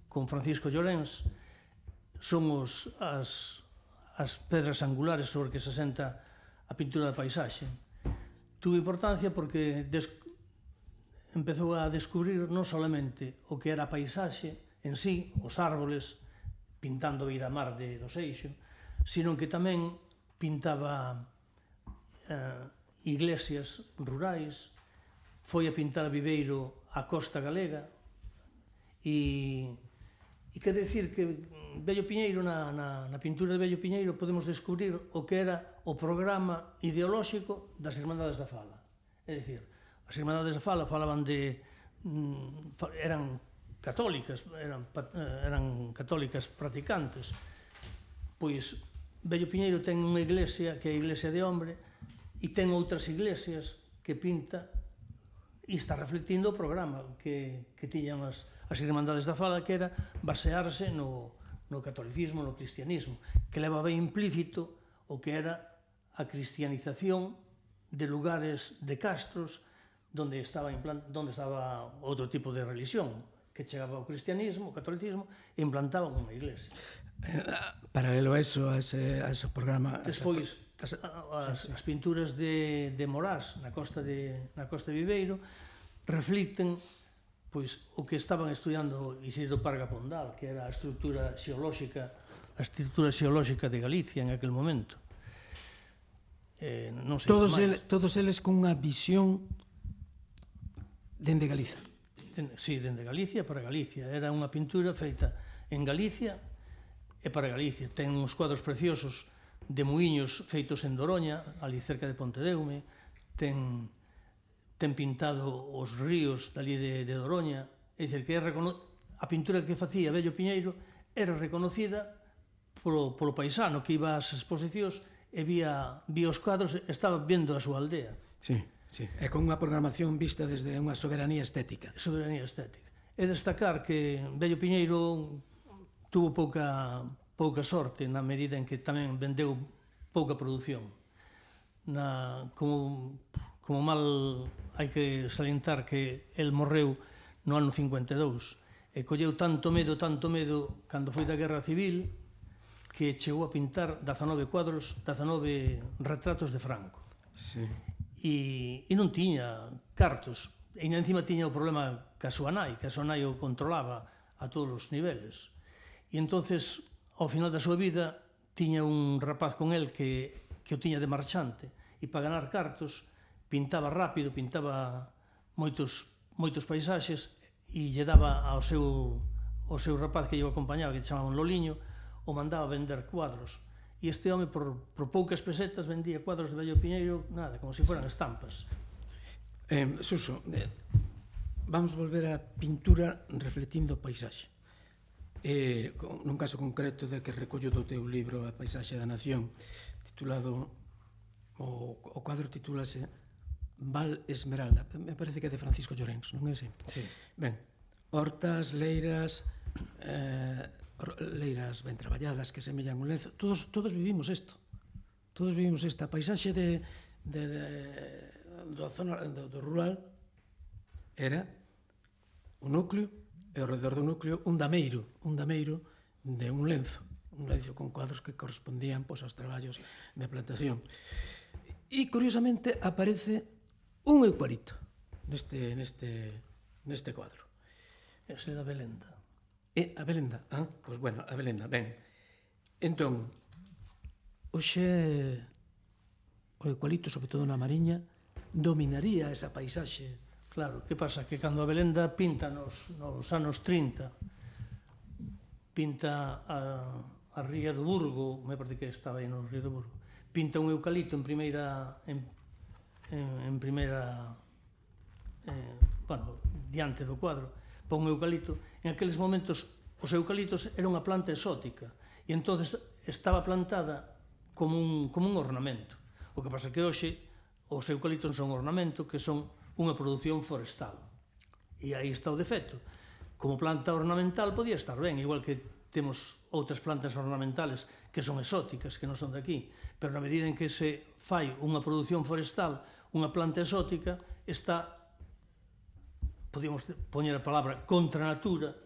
con Francisco Llorens, son as pedras angulares sobre que se asenta a pintura da paisaxe. Tuvo importancia porque empezou a descubrir non solamente o que era a paisaxe en sí, os árboles, pintando a beira-mar do Seixo, sino que tamén pintaba iglesias rurais, foi a pintar a Viveiro a costa galega, e quer decir que Bello Piñeiro, na pintura de Bello Piñeiro, podemos descubrir o que era o programa ideolóxico das Irmandades da Fala. É dicir, as Irmandades da Fala falaban eran católicas practicantes. Pois Bello Piñeiro ten unha iglesia que é a Iglesia de Hombre e ten outras iglesias que pinta e está reflectindo o programa que tiñan as Irmandades da Fala, que era basearse no catolicismo, no cristianismo, que levaba implícito o que era a cristianización de lugares, de castros, donde estaba outro tipo de religión, que chegaba ao cristianismo, ao catolicismo, e implantaban unha iglesia. Paralelo a eso, a ese programa... Despois, as pinturas de Morás na costa de Viveiro reflicten o que estaban estudiando Isidro Parga Pondal, que era a estrutura xeolóxica de Galicia en aquel momento. Todos eles con unha visión dende Galiza. Sí, dende Galicia para Galicia. Era unha pintura feita en Galicia e para Galicia. Ten uns cuadros preciosos de muiños feitos en Doroña, ali cerca de Pontedeume. Ten pintado os ríos dali de Doroña. É dicir, que a pintura que facía Bello Piñeiro era reconocida polo paisano que iba ás exposicións e vía os cuadros e estaba vendo a súa aldea. Sí, sí. E con unha programación vista desde unha soberanía estética. Soberanía estética. E destacar que Bello Piñeiro tuvo pouca sorte na medida en que tamén vendeu pouca produción. Como mal hai que salientar que el morreu no ano 52 e colleu tanto medo cando foi da Guerra Civil que chegou a pintar 19 retratos de Franco. Sí. E non tiña cartos, e encima tiña o problema que a súa nai o controlaba a todos os niveles. E entonces, ao final da súa vida, tiña un rapaz con el que o tiña de marchante, e para ganar cartos pintaba rápido, pintaba moitos paisaxes e lle daba ao seu rapaz que lle acompañaba, que chamaban Loliño, o mandaba vender cuadros. E este home, por poucas pesetas, vendía cuadros de Bello Piñeiro, nada, como se fueran estampas. Suso, vamos volver á pintura reflectindo o paisaxe. Nun caso concreto de que recollo do teu libro A paisaxe da nación, titulado, o cuadro titúlase Val Esmeralda, me parece que é de Francisco Llorens, non é así? Sí. Ben, hortas, leiras ben traballadas que semellan un lenzo, todos vivimos isto, todos vivimos esta paisaxe do rural era o núcleo e ao redor do núcleo un dameiro de un lenzo con cuadros que correspondían aos traballos de plantación. E curiosamente aparece un eucalipto neste cuadro. Ese da Belenda. A Belenda? Pois bueno, a Belenda, ben. Entón, hoxe o eucalipto, sobre todo na Mariña, dominaría esa paisaxe. Claro, que pasa? Que cando a Belenda pinta nos anos 30, pinta a Ría do Burgo, me parece que estaba aí no Río do Burgo, pinta un eucalipto en primeira diante do cuadro, pon un eucalipto. En aqueles momentos os eucaliptos era unha planta exótica e entonces estaba plantada como un ornamento. O que pasa que hoxe os eucaliptos son ornamento, que son unha produción forestal. E aí está o defecto. Como planta ornamental podía estar ben, igual que temos outras plantas ornamentales que son exóticas, que non son de aquí, pero na medida en que se fai unha produción forestal, unha planta exótica, está, podíamos poñer a palabra, contra a natura,